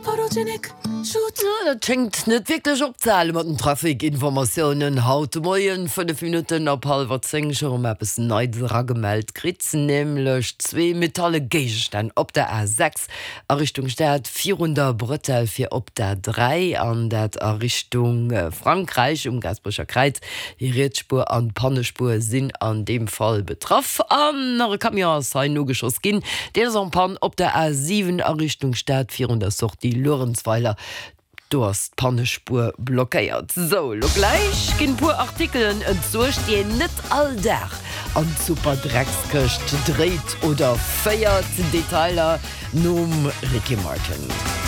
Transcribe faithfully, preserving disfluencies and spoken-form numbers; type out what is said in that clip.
Photogenic. Shoot. Ja, dat schéngt net wierklech opzehale mat den Trafikinformatiounen. Haut de Moien fënnef Minutten op hallwer zéng scho rëm eppes Neits eragemellt kritt, nämlech zwee metalle Géigestänn op der A sechs a Richtung Stad virun der Bretelle fir op d'A dräi an dat a Richtung Frankräich um Gaasperecher Kräiz. Déi riets Spuer an d'Pannespuer sinn an deem Fall betraff. An nach e Camion ass hei nogeschoss ginn, deen ass en panne op der A siwen a Richtung Stad virun der Sortie Luerenzweiler. Do ass d'Pannespuer blockéiert. Sou, lo gläich ginn puer Artikelen entsuergt, déi een net all Dag an d'Superdreckskëscht dréit oder féiert. Detailer nom Ricky Martin.